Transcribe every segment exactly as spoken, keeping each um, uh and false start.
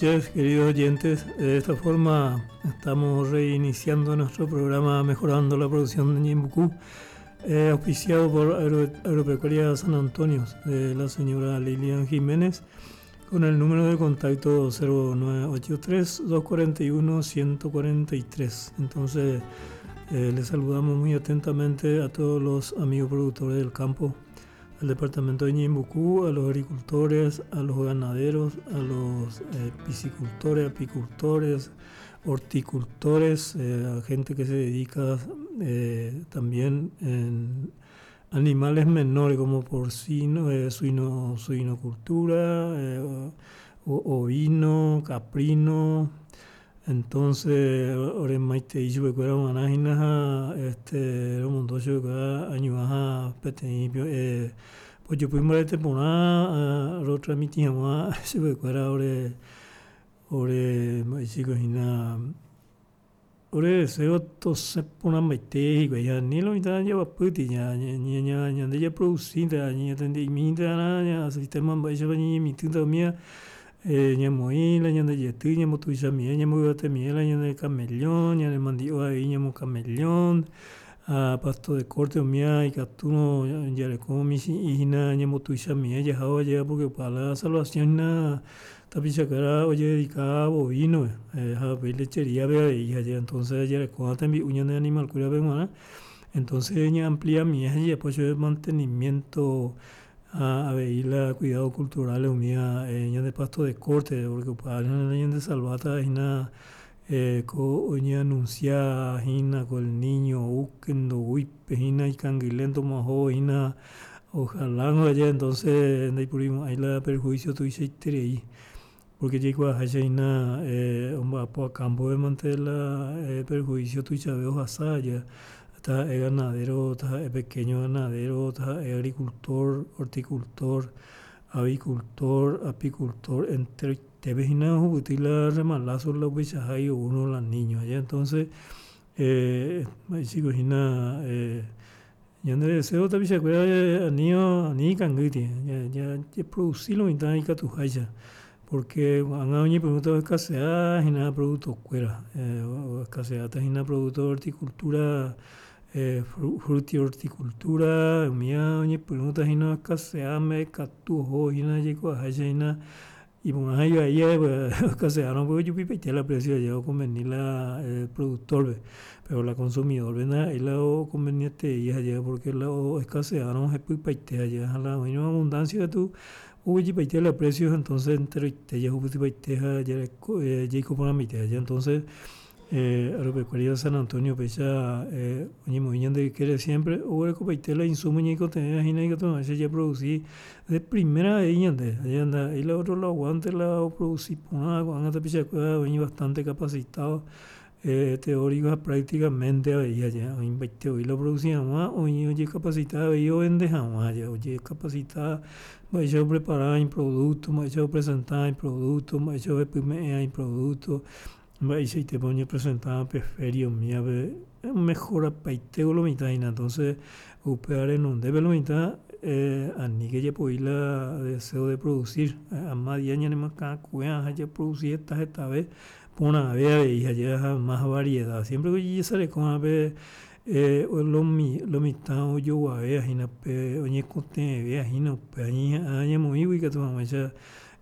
Queridos oyentes, de esta forma estamos reiniciando nuestro programa Mejorando la Producción de Ñeembucú, eh, auspiciado por Agro Agropecuaria San Antonio de la señora Lilian Jiménez, con el número de contacto cero nueve ocho tres, dos cuarenta y uno, ciento cuarenta y tres. Entonces, eh, les saludamos muy atentamente a todos los amigos productores del campo, al departamento de Ñeembucú, a los agricultores, a los ganaderos, a los, eh, piscicultores, apicultores, horticultores, eh, a gente que se dedica, eh, también en animales menores como porcino, eh, suino, suinocultura, eh, o, ovino, caprino. Entonces, ore maite ichu bekuera manajina ha, este, lo mundo chu bekuera añuaja peteĩ, eh, pues yo pude mbarete porã, ah, ro transmití hag̃ua chupekuéra ore, ore mba'eichiko hína, ore deseo tosẽ porãmbaite hikuái ha ni lo mitã javapýti ña, ña, ña, ña, ñande japroducínte ha ñañatendemínte arã, ña sistema mba'éichapa ñañemitỹta umía, eh, ñamoĩ la ñande jety, ñambotuichamie, ñamboyvatemiẽ la ñande camellón, ñane mandi'o avei ñamo camellón, ha pasto de corte umía ikatúrõ jareko michĩ'i hína ñambotuichamie jahávo jey porque opa la salvación hína tapichakuéra ojededicaba bovino, eh, ha upéi lechería-pe avei ha entonces jarekóva tembi'u ñane animal-kuérape g̃uarã. Entonces ñaampliamie ha jajapo chupe mantenimiento ha avei la cuidado cultural umía, eh, ñande pasto de corte, porque opa ñande salvata hína, eh, ko oñeanuncia hína con el niño ukendo uipe hína ikanguilento maho hína ojalá no haya entonces ndaipurimo'ãi la perjuicio tuichaiterei porque jaikuaaháicha hína, eh, omba'apo a campo mante la, eh, perjuicio tuichave ohasa ya taha'e ganadero, taha'e pequeño ganadero, taha'e agricultor, horticultor, avicultor, apicultor, enteroitépe hína ohupyty la remalazo la upeichahági oúrõ la niño ya entonces, eh, mba'eichiko hína, eh, ñande deseo tapichakuéra ani, ani ikangýti, ña, ña, japroduci lo mitã ikatuháicha porque ko'ág̃a oñepyrũta oescasea hína producto-kuéra, eh, oescaseáta hína producto de horticultura, eh, fruti horticultura, umía oñepyrũta hína oescasea mbeguekatu ohóvo hína jaikuaaháicha hína iporã ha ivai oescaseárõ ojupipaite la precio aja oconveni la, eh, productor-pe, pero la consumidor-pe ndaha'éi la oconvenietei aja porque la oescaseárõ hepypaite aja ha la oĩrõ abundancia katu oguejypaite la precio entonces enteroite jahupytypaite ha jareko, eh, jaiko porãmbaite aja entonces, eh, Agropecuaria San Antonio péicha, eh, oñemoĩ ñande ykére siempre oguerekopaite la insumo ñaikotevẽ hína ikatu hag̃uáicha japroduci de primera avei ñande aja ndaha'éi la otro lado guante la oproduci porã ko'ág̃a tapichakuéra oĩ bastante capacitado, eh, teórico ha prácticamente avei aja oĩmbaite voi la oproduci hag̃ua oĩ ojecapacita avei ovende hag̃ua aja ojecapacita mba'éicha oprepara iproducto, mba'éicha opresenta iproducto, mba'éicha ohepyme'ẽ iproducto, mba'eichaitépa oñepresenta pe feria umíape mejorapaite lo mitã hína entonces upéva renondépe lo mitã, eh, aníke japoi la deseo de producir, ama día ñanemoakãkuéa ha japroduci heta hetave porãve avei ha más variedad siempre ojesarekóvape, eh, lo mi, lo mitã ojoguavéva hína pe oñekotevẽvéva hína upe añeha'ã ñamoĩgui ikatu hag̃uáicha,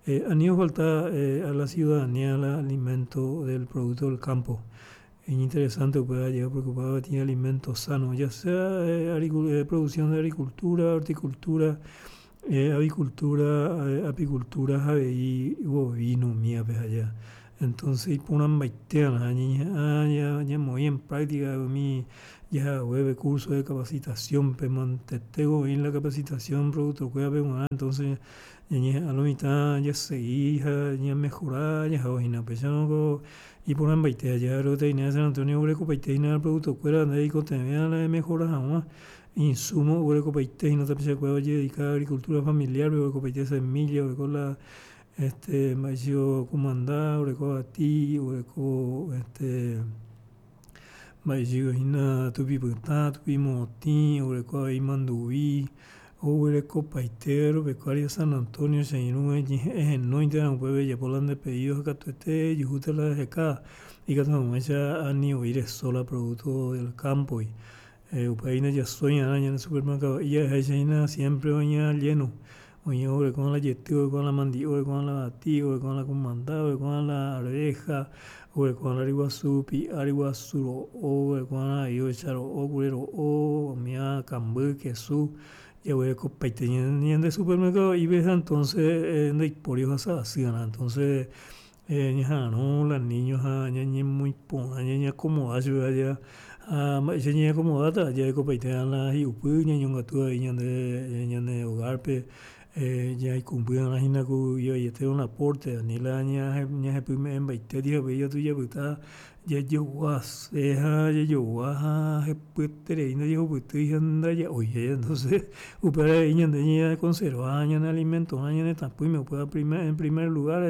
eh, ani ofalta, eh, a la ciudadanía la alimento del producto del campo. Es interesante upéva aje preocupado tiene alimento sano, ya sea, eh, agricu-, eh, producción de agricultura, horticultura, eh, avicultura, eh, apicultura, avei bovino umíape allá. Entonces iporãmbaitéva ñañeha'ã ña, ñamoĩ en práctica umi jahaguépe curso de capacitación pe mantete oĩ la capacitación productor-kuérape g̃uarã, entonces ñañeha'ã lo mitã jasegi ha ñamejora jahávo hína upéicharõ ko iporãmbaite aja Agroveterinaria San Antonio oguerekopaite hína producto-kuéra ndeikotevẽva la emejora hag̃ua insumo oguerekopaite hína tapichakuéra ojededica agricultura familiar-pe oguerekopaite semilla oreko la este mba'éicho kumanda oreko avati oreko este mba'éicho hína tupipytã, tupimotĩ, oreko avei manduvi, Oguerekopaite Agropecuaria San Antonio che irũ ehenóinte upépe ejapo nde pedido katuete ejuhúta la heka ikatu hag̃uáicha ani oíre sola producto del campo upéi ndajasoi'arã ñande supermercado jahecháina siempre oĩa lleno oĩ oguereko la jety oguereko la mandi'o oguereko la avati oguereko la kumanda oguereko la arveja oguereko la ryguasu pi'a ryguasu ro'o oguereko ovecha ro'o kure ro'o umíva kamby kesu jaguerekopaite ñande supermercado'ípe ha entonces ndaipóri ohasa asyva'erã entonces ñaha'ãrõ la niño ha ñañemoĩporã ñañeacomoda chupe ha mba'éicha ñañeacomodáta jarekopaite la hi'upy ñañongatu avei ñande ñane hogar-pe jaikũmby'arã hína ku ivaiete un aporte ani la ñahepyme'ẽmbaitéti ha upéi katu japyta jajoguase ha jajogua ha hepyeterei ndajahupytýi ha ndaja'ói entonces upévare avei ñande ñaconserva ñane alimentorã ñane tatũime upéva en primer lugar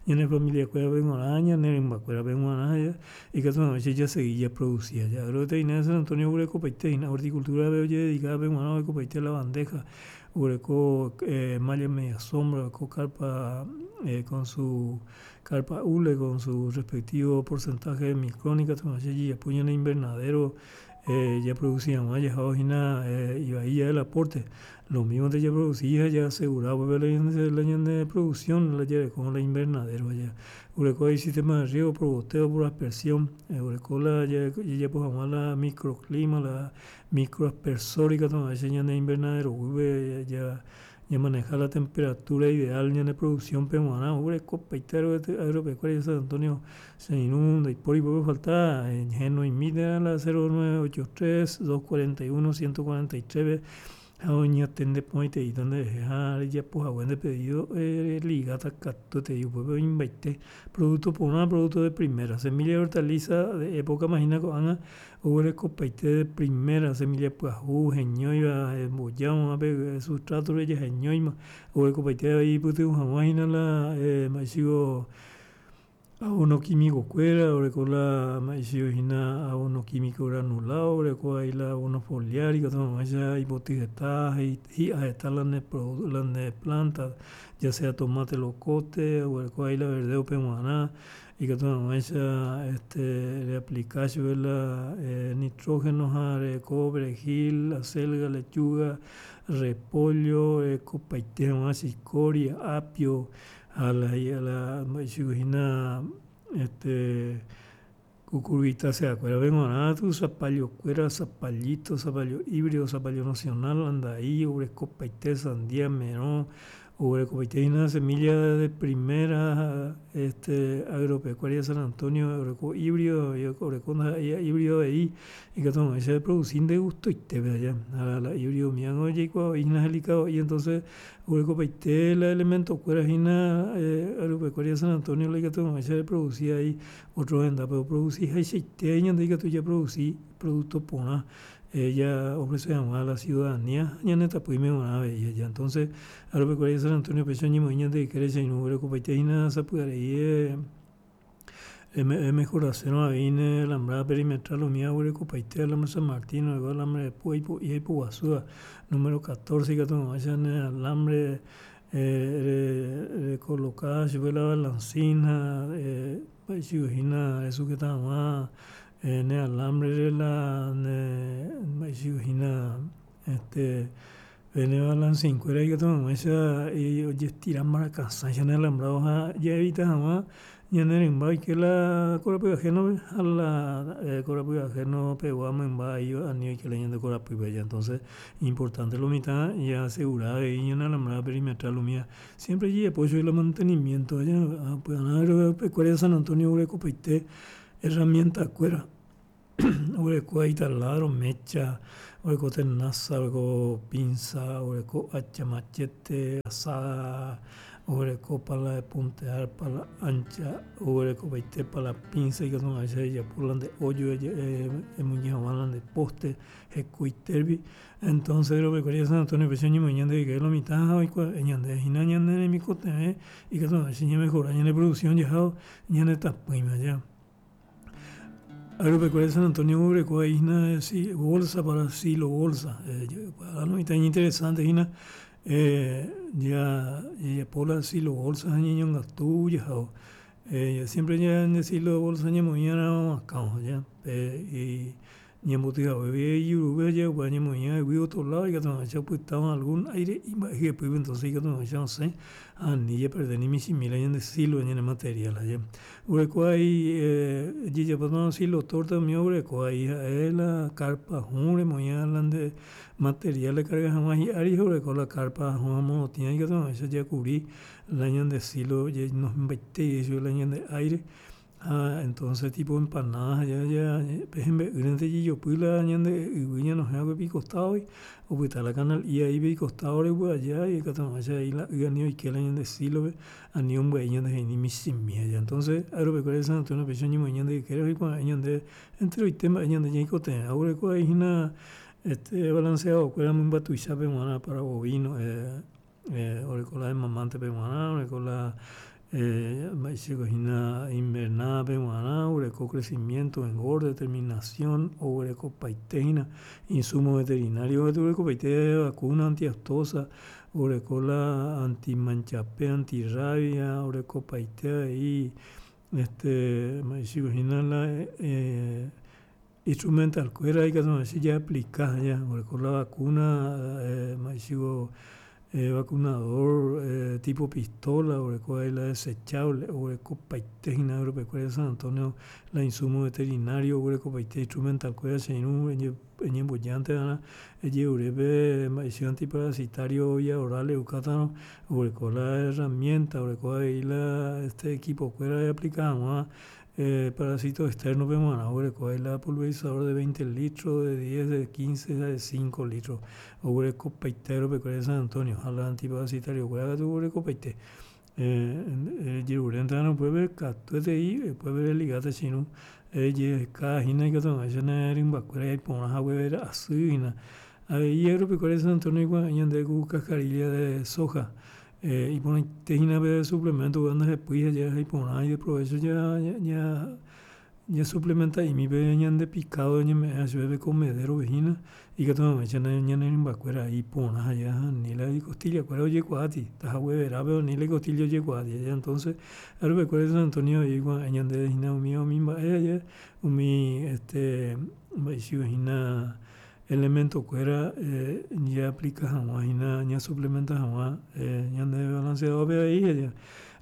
ñane familiakuérape g̃uarã ñane rymbakuérape g̃uarã ikatu hag̃uáicha jasegi japroduci Agroveterinaria San Antonio oguerekopaite hína horticultura-pe ojededicada g̃uarã oguerekopaite la bandeja oguereko malla media sombra oguereko carpa con su carpa hule con su respectivo porcentaje de micrón ikatu hag̃uáicha jajapo ñane invernadero japroduci hag̃ua jahávo hína ivai jave el aporte lo mismo japroduci ha jaasegura la ñane producción la jareko la invernadero oguereko avei sistema de riego por goteo por aspersión oguereko la jajapo hag̃ua la microclima la microaspersor ikatu hag̃uáicha ñane invernadero guýpe ñamaneja la temperatura ideal ñane producción-pe g̃uarã oguerekopaite Agropecuaria San Antonio che irũ ndaipóri pype falta henoimíta la cero nueve ocho tres dos cuarenta y uno ciento cuarenta y tres-pe ha oñatende porãiteíta nderehe ha rejapohague nde pedido religáta katuetei upépe oĩmbaite producto porã producto de primera semilla y hortaliza de época-ma hína ko'ág̃a oguerekopaite de primera semilla pyahu heñóiva embojáma pe sustrato-re jaheñóima oguerekopaite avei ipytyvõ hag̃ua hína la mba'éichiko abono químico-kuéra oreko la mba'éichiko hína abono químico granulado oreko avei la abono foliar ikatu hag̃uáicha ipoty heta hi'a heta la ne la ne planta ya sea tomate locote oguereko avei la verdeo-pe g̃uarã ikatu hag̃uáicha este reaplica chupe la nitrógeno ha reko perejil, acelga, lechuga, repollo orekopaite hag̃ua chicoria, apio ha la la mba'éichiko hína este cucurbitacea-kuérape g̃uarã zapallo-kuéra zapallito, zapallo híbrido, zapallo nacional, andai oguerekopaite sandia, merõ oguerekopaite hína semilla de primera este Agropecuaria San Antonio oreko híbrido oreko ndaha'éi híbrido avei ikatu hag̃uáicha eproduci nde gustoitépe aja ha la híbrido umíva jaikuaa hína delicado entonces oguerekopaite la elemento-kuéra hína Agropecuaria San Antonio la ikatu hag̃uáicha eproduci avei otro hendápe oproducihaichaite ñande ikatu japroduci producto porã ella ofrece hag̃ua la ciudadanía ñane tapỹime g̃uarã avei aja entonces Agropecuaria San Antonio péicha oñemoĩ ñande ykére che irũ oguerekopaite hína sapy'arei emejorasérõ avei ne alambrada perimetral umíva oguerekopaite alambre San Martín oguereko alambre po'i ha ipoguasúva número catorce ikatu hag̃uáicha ne alambre recoloca chupe la balancina mba'éichiko hína resujeta hag̃ua ne alambre la ne mba'éichiko hína este ne balancin-kuéra ikatu hag̃uáicha ojestira mbarakasãicha ne alambrado ha jaevita hag̃ua ñane rymba oike la korapy ajeno-pe ha la korapy ajeno-pegua mymba ani oike la ñande korapýpe aja entonces importante lo mitã jaasegura avei ñane alambrada perimetral umíva siempre ojejapo chugui la mantenimiento aja upearã Agropecuaria San Antonio oguerekopaite herramienta-kuéra oguereko avei taladro, mecha, oguereko tenaza, oguereko pinza, oguereko hacha, machete, azada, oguereko pala de puntear, pala ancha, oguerekopaite pala pinza ikatu hag̃uáicha ejapo la nde hoyo emoñe hag̃ua la nde poste hekoitérupi entonces Agropecuaria San Antonio péicha oñemoĩ ñande ykére lo mitã ha oikuaa ñande hína ñane remikotevẽ ikatu hag̃uáicha ñamejora ñane producción jahávo ñane tapỹime aja. Agropecuaria San Antonio oguereko hína si bolsa para silo bolsa. No está interesante hína ya jajapo la silo bolsa ha ñañongatu jahao siempre ñande silo bolsa ñamoĩarã akão ya y ñambotyhaguévi ijurúpe upéva ñamoĩ yvy otro lado ikatu hag̃uáicha opytáva algún aire'i mba'e hyepýpe entonces ikatu hag̃uáicha osẽ ani japerde ni michĩmi la ñande silo ñane material aja. Oguereko avei jajapótarõ silo torta umi oguereko avei ha'e la carpa hũ remoĩva la nde material recarga hag̃ua hi'ári ha oguereko la carpa hũ morotĩva ikatu hag̃uáicha jakubri la ñande silo ñañohẽmbaitéi chupe la ñande aire ha entonces tipo empanada ja ja pe hembe'ýrente jejopy la ñande yvy ñanohẽva ikostadogui opyta la canal'i ahí ikostadore upe aja ikatu hag̃uáicha la y ani oike la ñande silope ani ombyai ñandehegui ni michĩmi aja. Entonces Agropecuaria San Antonio péicha oñemoĩ ñande ykére oikuaa'ẽ ñande enteroite mba'e ñande ñaikotevẽ oguereko avei hína este balanceado-kuéra mymba tuichápe g̃uarã para bovino oreko la desmamantepe g̃uarã, oreko la mba'éichako hína invernadape g̃uarã, oguereko crecimiento, engorde, terminación, oguerekopaite hína insumo veterinario oguerekopaite vacuna antiaftosa, oguereko la antimanchape, antirrabia, orekopaite avei este mba'éichako hína la instrumental-kuéra ikatu hag̃uáicha jaaplica ja oguereko la vacuna mba'éichako vacunador tipo pistola, oguereko avei la desechable, oguerekopaite hína Agropecuaria San Antonio la insumo veterinario oguerekopaite instrumental-kuéra che irũ eñembojánteva'erã ejerurépe mba'éicha antiparasitario vía oral e'ukátarõ oguereko la herramienta, oguereko avei la este equipo-kuéra eaplika hag̃ua parasito externo-pe g̃uarã oguereko avei la pulverizador de veinte litros, de diez, de quince ha de cinco litros oguerekopaite Agropecuaria San Antonio ha la antiparasitario-kuéra katu oguerekopaite ejerurénteva'erã upépe katuetei upépe religáta che irũ ejehekahína ikatu hag̃uáicha ne rymbakuéra iporã haguevera asy hína. Avei Agropecuaria San Antonio ikuave'ẽ ñande ku cascarilla de soja iporãite hína pe suplemento upéva ndahepýi ha iporã ideprovecho ja ja ñasuplementa'imi pe ñande picado ñame'ẽ chupe pe comederope hína ikatu hag̃uáicha ñane rymbakuéra iporã ha ani la icostilla-kuéra ojekuaáti tahagueverápe ani la icostilla ojekuaáti entonces Agropecuaria San Antonio ikuave'ẽ ñandéve hína umi umi mba'e aja umi este mba'éichiko hína elemento-kuéra jaaplika hag̃ua hína ñasuplementa hag̃ua ñande balanceado-pe avei aja.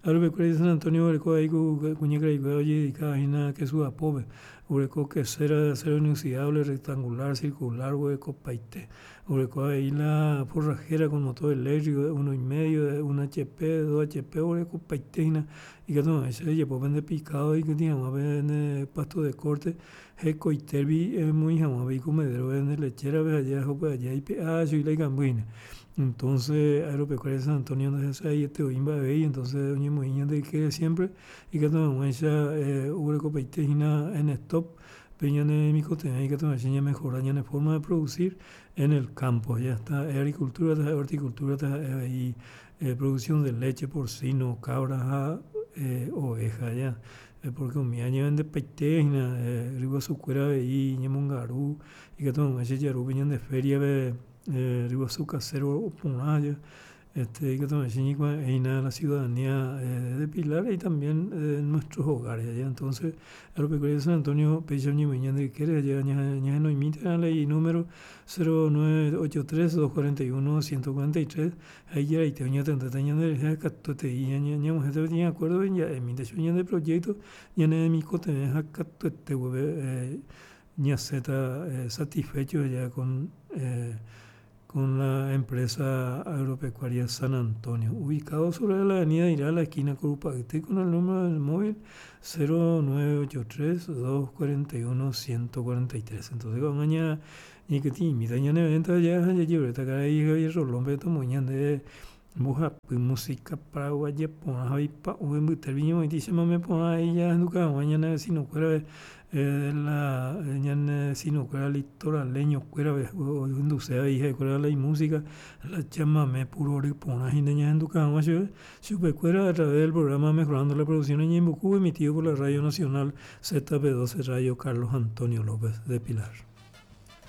Agropecuaria San Antonio oguereko avei ku kuñakarai-kuéra ojededicada hína kesu apópe oguereko quesera de acero inoxidable rectangular, circular oguerekopaite oguereko avei la forrajera con motor eléctrico de uno y medio, de un hp, dos hp oguerekopaite hína ikatu hag̃uáicha ejapo pende picado eikytĩ hag̃ua pende pasto de corte hekoitérupi emoĩ hag̃ua pe icomedero-pe nde lechera-pe aja upe aja eipe'a chugui la ikamby hína. Entonces Agropecuaria San Antonio ndahesaietevoi mba'evéi entonces oñemoĩ ñande ykére siempre ikatu hag̃uáicha oguerekopaite hína en stock pe ñane remikotevẽ ikatu hag̃uáicha ñamejora ñane forma de producir en el campo ya está agricultura taha'e horticultura taha'e avei producción de leche porcino, cabra ha oveja ya porque umi añevendepaite hína ryguasukuéra avei ñemongaru ikatu hag̃uáicha jaru ñande feria-pe ryguasu casero oporã aja este ikatu hag̃uáicha ñaikuave'ẽ la ciudadanía de Pilar y también de nuestros hogares ya entonces Agropecuaria San Antonio péicha oñemoĩ ñande ykére aja ñahenoimíta la inúmero cero nueve ocho tres dos cuarenta y uno ciento cuarenta y tres ha ijaraite oñatendéta ñanderehe katuetei ñag̃uahẽta peteĩ acuerdo ja'emínte chupe ñande proyecto ñane remikotevẽ ha katuete guive ñasẽta satisfecho ya con con la empresa Agropecuaria San Antonio, ubicado sobre la avenida Irala, esquina Curupa'yty, con el número del móvil cero nueve ocho tres dos cuarenta y uno ciento cuarenta y tres. Entonces, ko'ág̃a ña ñaikytĩ'imíta ñane venta ja jajeruréta karai Javier Rolón-pe tomoĩ ñande Mbohapy música paraguaya porã ha oipa'ũ mbytépe ñemoĩti chamame porã ahenduka hag̃ua ñane vecino-kuérape la ñane vecino-kuéra litoraleño-kuérape ohenduse avei ha'ekuéra la imúsica la chamame pu rory porã hína ñahenduka hag̃ua chupe chupekuéra a través del programa Mejorando la Producción Ñeimbuku emitido por la Radio Nacional Z P doce Radio Carlos Antonio López de Pilar.